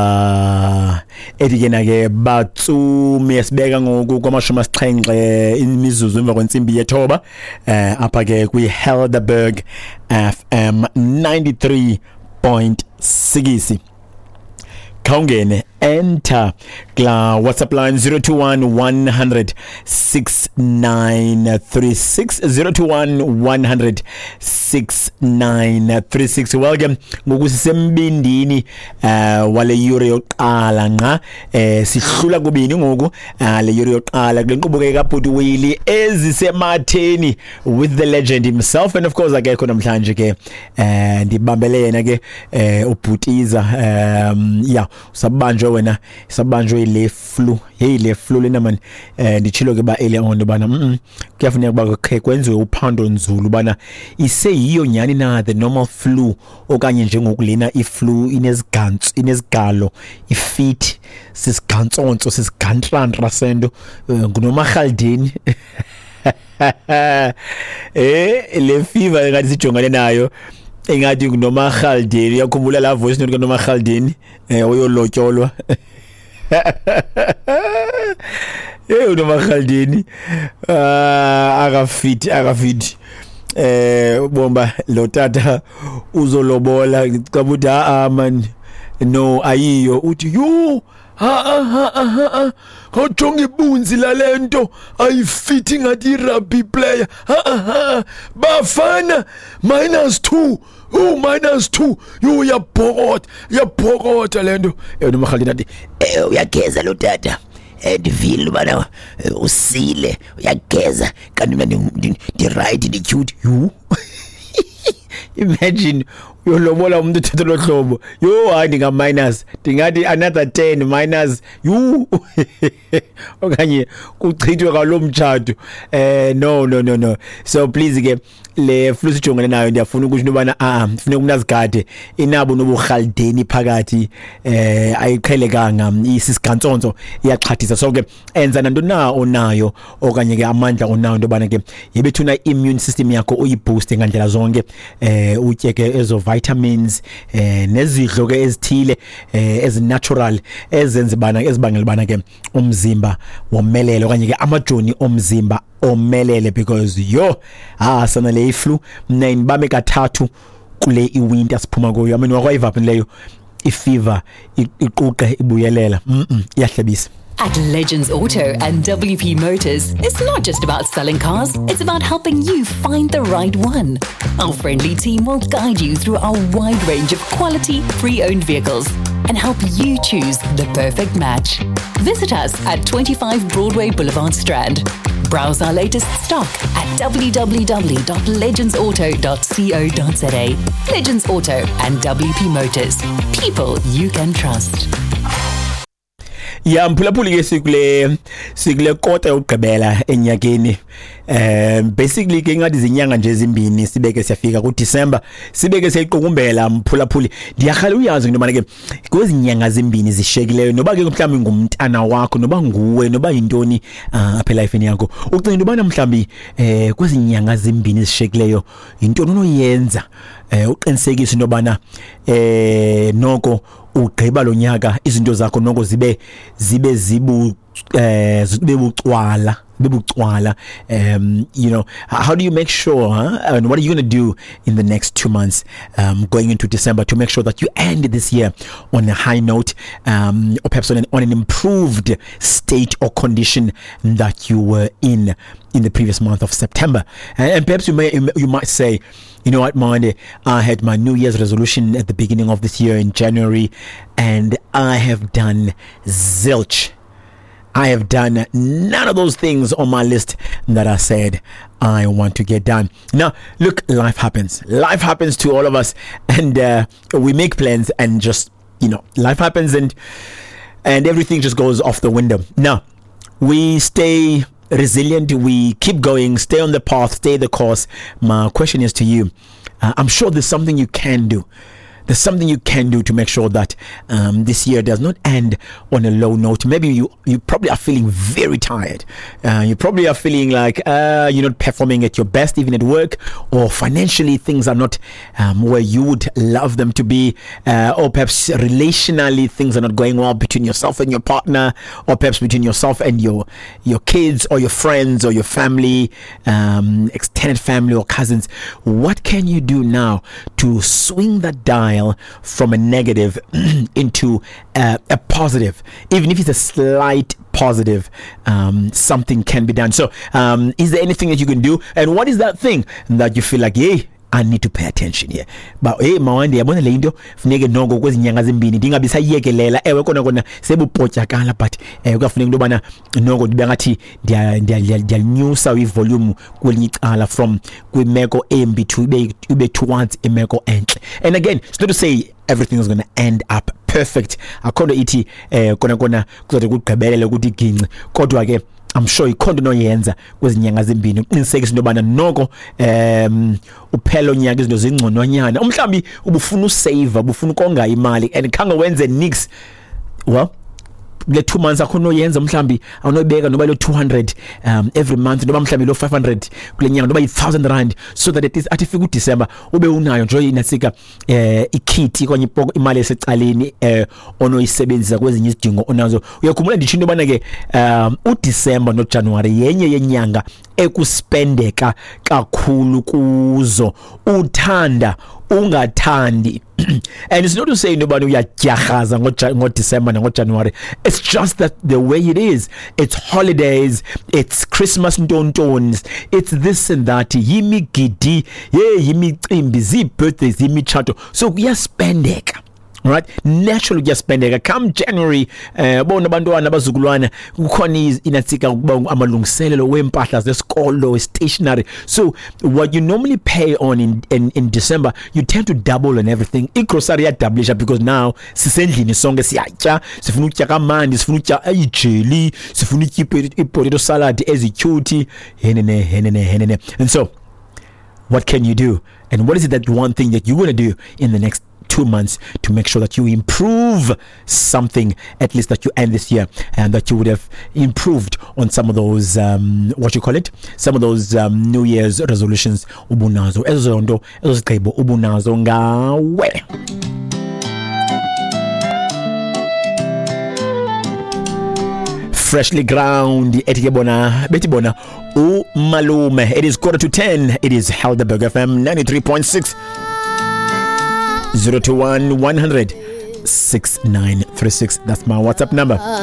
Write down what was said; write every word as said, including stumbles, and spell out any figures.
Ah, ethi ke na ke batsumi sibeka ngoku kwamashumi asixhenxe imizuzu emva kwentsimbi yethoba eh apha ke kwi Helderberg F M ninety-three point six. Khawungene enter kla WhatsApp line zero two one one hundred six nine three six, zero two one one hundred six nine three six. Welcome ngoku sisembindini eh wale yure yokuqala nqa eh sihlula kubini ngoku le yure yokuqala kule nkqubo ke kaBhuti Willie ezisematheni with the legend himself, and of course akekho namhlanje ke eh ndibambele yena ke eh ubhutiza um yeah usabanjwe wena sabanjwe le flu. Hey le flu lena man eh ndichilo ke ba earlier on bana mhm kuyafuneka ba kwenziwe uphando nzulu bana iseyiyo nyani na the normal flu okanye njengokulena iflu inezigantsu inezigalo ifit sisigantsonso sisigantlantla sento ngunomarhaldeni. Eh le fever engathi sijongane nayo engathi ngunomarhaldeni. Uyakhumbula la voice note kaNomarhaldeni eh oyolotyolwa. Eh uNomarhaldeni ah akafit akafit eh bomba lo tata uzolobola ngicabanga ah man no ayiyo uthi yo ha ha ha ha awujonga ibunzi lalento ayifithi ngathi rugby player ha ha bafana minus two oh minus two yo uyabhokota uyabhokota lento. Eh noMarhaldeni athi eh uyageza lo tata ndivile bana usile uyageza kanti mina ndi right ndi cute you. Imagine uyolobola umuntu uthethe lo hlobo yo hayi ndinga minus ndingathi another ten minus you okanye kuchithwe kwalo mtshato eh no no no no so please ke le flu sijongene nayo ndiyafuna ukuthi nobana ah funeka umuntu azigade inabo noburhaldeni phakathi eh ayiqhelekanga isisigantsonso iyaxhathisa. So ke enza nanto na onayo okanye ke amandla onayo ndobana ke yebethuna immune system yakho uyiboost ngandlela zonke eh utye ke ezo vitamins eh nezidlo ke ezithile eh ezinatural ezenza bana ezibangela bana ke umzimba womelele okanye ke amajoni omzimba omelele because yo ah sana le flu mina ngibame kathathu kule iwinter siphuma kuyo. I mean wakwayiva leyo ifever iquqe ibuyelela mhm iyahlebisa. At Legends Auto and W P Motors, it's not just about selling cars, it's about helping you find the right one. Our friendly team will guide you through our wide range of quality, pre-owned vehicles and help you choose the perfect match. Visit us at twenty-five Broadway Boulevard, Strand. Browse our latest stock at w w w dot legends auto dot co dot z a. Legends Auto and W P Motors. People you can trust. Ya mphulaphuli ke sikule sikule kota yokugqibela enyakeni eh basically ke ngathi izinyanga nje ezimbini sibeke siyafika ku December sibeke siyayiqukumbela mphulaphuli. Ndiyakhala uyazi into manje ke kwezinyanga ezimbini zishekileyo noba ke mhlawumbi ngumntana wakho noba nguwe noba yintoni apha elifeni yakho ucinga into bana mhlawumbi eh kwezinyanga ezimbini zishekileyo yintoni onoyenza eh uqinisekise into bana eh noko ugqiba lo nyaka izinto zakho noko zibe zibe zibu eh zibe bucwala bebucwala um you know how do you make sure huh? And what are you going to do in the next two months um going into December to make sure that you end this year on a high note um or perhaps on an, on an improved state or condition that you were in in the previous month of September? And, and perhaps you may you might say, you know what, Monde, I had my New Year's resolution at the beginning of this year in January and I have done zilch. I have done none of those things on my list that I said I want to get done. Now, look, life happens. Life happens to all of us, and uh, we make plans and just, you know, life happens and and everything just goes off the window. Now, we stay resilient. We keep going, stay on the path, stay the course. My question is to you. Uh, I'm sure there's something you can do. There's something you can do to make sure that um, this year does not end on a low note. Maybe you, you probably are feeling very tired. Uh, you probably are feeling like uh, you're not performing at your best, even at work, or financially things are not um, where you would love them to be, uh, or perhaps relationally things are not going well between yourself and your partner, or perhaps between yourself and your your kids or your friends or your family, um, extended family or cousins. What can you do now to swing that dial from a negative into a, a positive, even if it's a slight positive? Um, something can be done. So um, is there anything that you can do? And what is that thing that you feel like, hey, I need to pay attention here? But hey, mawande yabona le into funeke noko kwezi nyanga zimbini ndingabi sayiyekelela. Ewe kona kona sebupotyakala, but eh kuyafuneka into yobana noko ndibe ngathi ndiyalinyusa ivolume kwelinye icala from kwimeko embi to ibe ibe towards imeko entle. And again, it's not to say everything is going to end up perfect. Akho nto ithi eh kona kona kuzode kugqibelele ukuthi ginci, kodwa ke I'm sure ikhona into onoyenza kwezi nyanga zimbini uqinisekise into yobana noko um uphela unyaka izinto zingcononyana. Umhlawumbi ubufuna usave, ubufuna ukonga imali and khange wenze nix. Well, kule two months akho noyenza, mhlawumbi awunobeka noba lo two hundred um every month, noba mhlawumbi lo five hundred kule nyanga, noba yi-thousand rand, so that at least athi fika uDecember ube unayo nje inasika eh ikhithi okanye imali esecaleni eh onoyisebenzisa kwezinye izidingo onazo. Uyakhumbula nditsho into yobana ke um uDecember noJanuary yenye yenyanga ekuspendeka kakhulu kuzo, uthanda ungathandi. And it's not to say nobody uyadyarhaza ngoDecember nangoJanuary. It's just that the way it is. It's holidays, it's Christmas ntontons, it's this and that, yimigidi, ye yimicimbi, zii-birthdays, yimitshato. So kuyaspendeka. Right? Naturally kuyaspendeka. Come January, eh bona abantwana abazukulwana kukhona inatsika ukuba amalungiselelo wempahla zesikolo, stationery. So what you normally pay on in, in in December, you tend to double on everything. Igrocery yadoublisha because now sisendlini sonke siyatya, sifuna ukutya kamandi, sifuna ukutya ijeli, sifuna ukutya ipotato salad ezicutie, henene henene henene. And so what can you do? And what is it that one thing that you want to do in the next two months to make sure that you improve something, at least that you end this year and that you would have improved on some of those um, what you call it, some of those um, New Year's resolutions ubunazo, ezo nto ezo zigqibo ubunazo ngawe. Freshly ground ethi ke bona bethi bona umalume. It is quarter to ten. It is Helderberg F M ninety-three point six. zero two one, one hundred, six nine three six. That's my WhatsApp number.